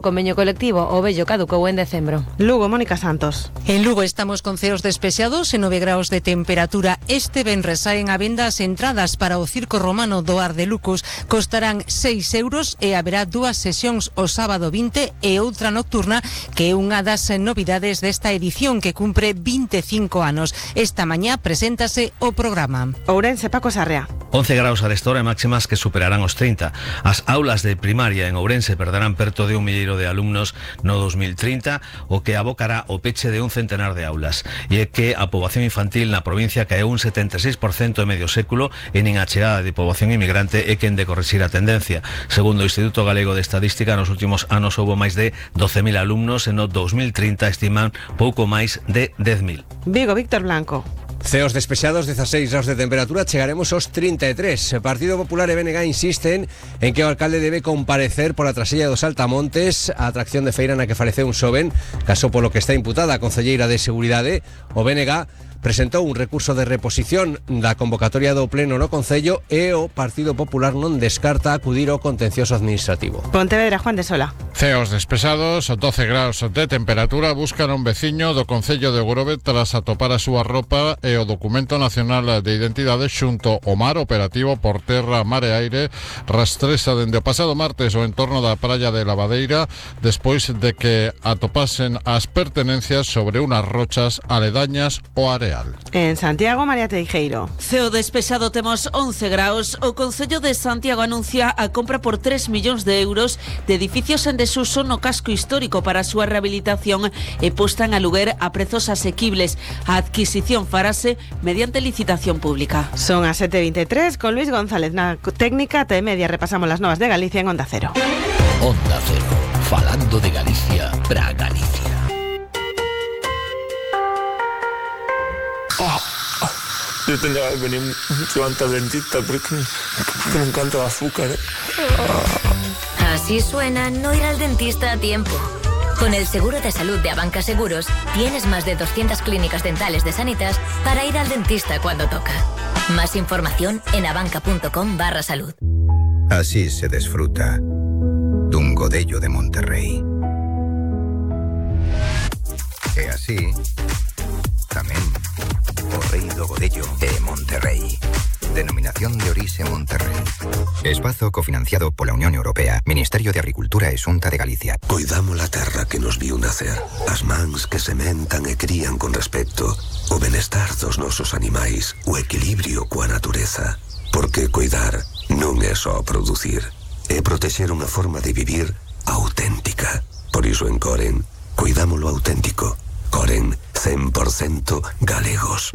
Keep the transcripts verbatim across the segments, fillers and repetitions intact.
Convenio colectivo o vello caducou en decembro. Lugo, Mónica Santos. En Lugo estamos con ceos despechados e nove graus de temperatura. Este venres saen a venda as entradas para o Circo Romano do Ar de Lucos. Costarán seis euros e haberá dúas sesións o sábado vinte e outra nocturna, que é unha das novidades desta edición que cumpre vinte e cinco anos. Esta mañá preséntase o programa. Ourense, Paco Sarrea. once graus arestora e máximas que superarán os trinta. As aulas de primaria en Ourense perderán perto de un milleiro de alumnos no dos mil trinta, o que abocará o peche de un centenar de aulas. E é que a poboación infantil na provincia caeu un setenta e seis por cento en medio século e nin a chegada de poboación inmigrante é quen de corrixir a tendencia. Segundo o Instituto Galego de Estadística, nos últimos anos houbo máis de doce mil alumnos e no dos mil trinta estiman pouco máis de dez mil. Vigo, Víctor Blanco. Ceos despexados, dezasseis graus de temperatura, chegaremos aos trinta e tres. O Partido Popular e B N G insisten en que o alcalde debe comparecer pola trasella dos Altamontes, a atracción de feira na que faleceu un xoven, caso polo que está imputada a concelleira de Seguridade. O B N G presentou un recurso de reposición da convocatoria do pleno no Concello e o Partido Popular non descarta acudir ao contencioso administrativo. Pontevedra, Juan de Sola. Ceos despesados, doce graus de temperatura, buscan un veciño do Concello de Grove tras atopar a súa roupa e o documento nacional de identidade xunto ao mar. Operativo por terra, mar e aire rastrexa dende o pasado martes o entorno da praia de Lavadeira despois de que atopasen as pertenencias sobre unas rochas aledañas ao área. En Santiago, María Teijeiro. Ceo despexado, temos once graus. O Concello de Santiago anuncia a compra por tres millóns de euros de edificios en desuso no casco histórico para a súa rehabilitación e posta en aluguer a prezos asequibles. A adquisición farase mediante licitación pública. Son as sete e veintitrés, con Luis González na técnica. T media repasamos las novas de Galicia en Onda Cero. Onda Cero, falando de Galicia para Galicia. Yo tendría que venir mucho antes al dentista porque, porque me encanta el azúcar. ¿eh? Así suena no ir al dentista a tiempo. Con el seguro de salud de Abanca Seguros tienes más de doscientas clínicas dentales de Sanitas para ir al dentista cuando toca. Más información en abanca.com barra salud. Así se disfruta dun godello de Monterrey. E así tamén o rei do godello de Monterrey. Denominación de orixe Monterrey. Espazo cofinanciado pola Unión Europea, Ministerio de Agricultura e Xunta de Galicia. Coidamos a terra que nos viu nacer, as mans que sementan e crían con respecto, o benestar dos nosos animais, o equilibrio coa natureza. Porque coidar non é só producir, é protexer unha forma de vivir auténtica. Por iso en Coren, coidámolo auténtico. Coren, cien por ciento galegos.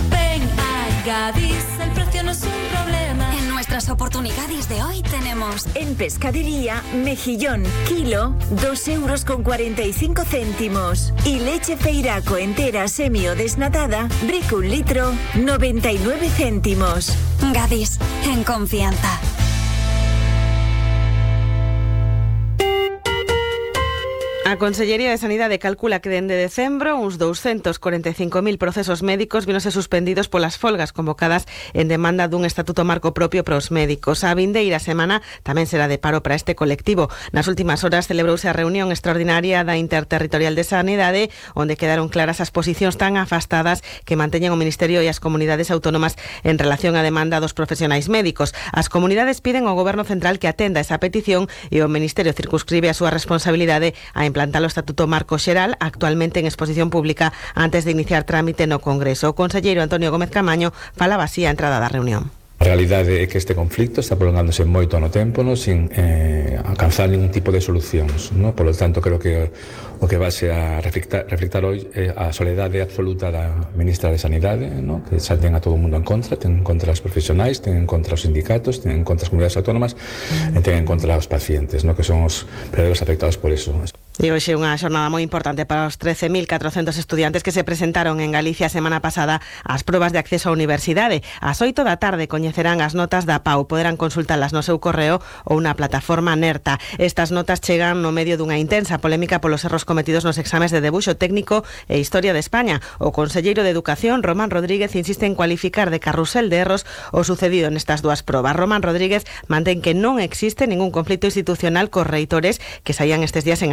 Ven a Gadis, el precio no es un problema. En nuestras oportunidades de hoy tenemos en pescadería, mejillón, kilo, dos euros con cuarenta y cinco céntimos. Y leche feiraco entera semi o desnatada, brico un litro, noventa y nueve céntimos. Gadis, en confianza. A Consellería de Sanidade calcula que dende decembro uns doscientos cuarenta e cinco mil procesos médicos vinose suspendidos polas folgas convocadas en demanda dun estatuto marco propio para os médicos. A vindeira semana tamén será de paro para este colectivo. Nas últimas horas celebrouse a reunión extraordinaria da Interterritorial de Sanidade, onde quedaron claras as posicións tan afastadas que manteñen o Ministerio e as comunidades autónomas en relación á demanda dos profesionais médicos. As comunidades piden ao Goberno Central que atenda esa petición e o Ministerio circunscribe a súa responsabilidade a implantar o Estatuto Marco Xeral, actualmente en exposición pública antes de iniciar trámite no Congreso. O conselleiro Antonio Gómez Camaño falaba así a entrada da reunión. A realidade é que este conflicto está prolongándose moito no tempo, no, sin eh, alcanzar ningún tipo de solucións, no? Por lo tanto, creo que o que vase a reflectar, reflectar hoy é a soledade absoluta da ministra de Sanidade, no? Que xa ten a todo o mundo en contra, ten en contra os profesionais, ten en contra os sindicatos, ten en contra as comunidades autónomas, mm. e ten en contra os pacientes, no? Que son os verdadeiros afectados por eso. E hoxe unha xornada moi importante para os trece mil catrocentos estudiantes que se presentaron en Galicia a semana pasada ás probas de acceso á universidade. Ás oito da tarde coñecerán as notas da P A U, poderán consultalas no seu correo ou na plataforma Nerta. Estas notas chegan no medio dunha intensa polémica polos erros cometidos nos exames de debuxo técnico e Historia de España. O conselleiro de Educación, Román Rodríguez, insiste en cualificar de carrusel de erros o sucedido nestas dúas probas. Román Rodríguez mantén que non existe ningún conflito institucional cos reitores que saían estes días en